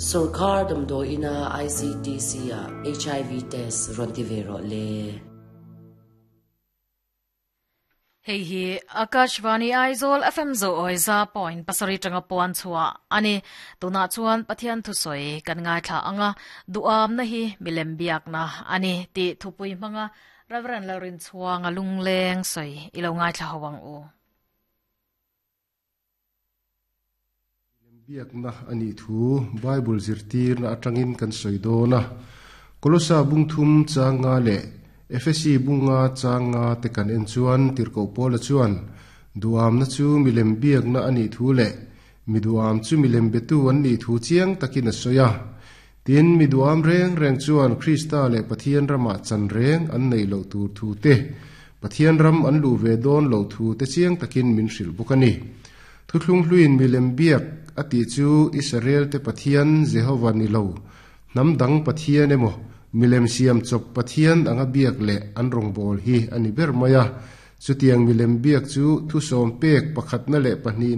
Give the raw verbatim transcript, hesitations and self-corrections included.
Sorkar damdawi ina I C T C ah H I V test rawn ti ve rawh le. Hei hi Akashvani Aizawl F M zo oi za point pasarih tanga puan chhuah ani. Tuna chuan Pathian thu sawi kan ngaithla anga, duam na hi milem biak na ani ti thupui hmanga Reverend Lalrin Chuanga lungleng soi ilo ngaithla hawang u. Biakna ani thu Bible zirtir na atangin kan soi dona. Kolosa bung thum changa le Efesi bunga changa te kan en chuan tirko pola chuan duam na chu milem biak na ani thu le miduam chu milem betu an ni thu chiang takin a soya. Tin miduam reng reng chuan Krista le Pathian rama chan reng an nei lo tur thu te, Pathian ram an lu ve don lo thu te chiang takin min hril bukani. Thuthlung hluin milem biak ati chu Israel te Pathian Jehova ni lo, nam dang Pathian emo milem siam chop Pathian anga biak le an rong bol hi ani ber maya. Chutiang milem biak chu thu som pek pakhat na le pahnih.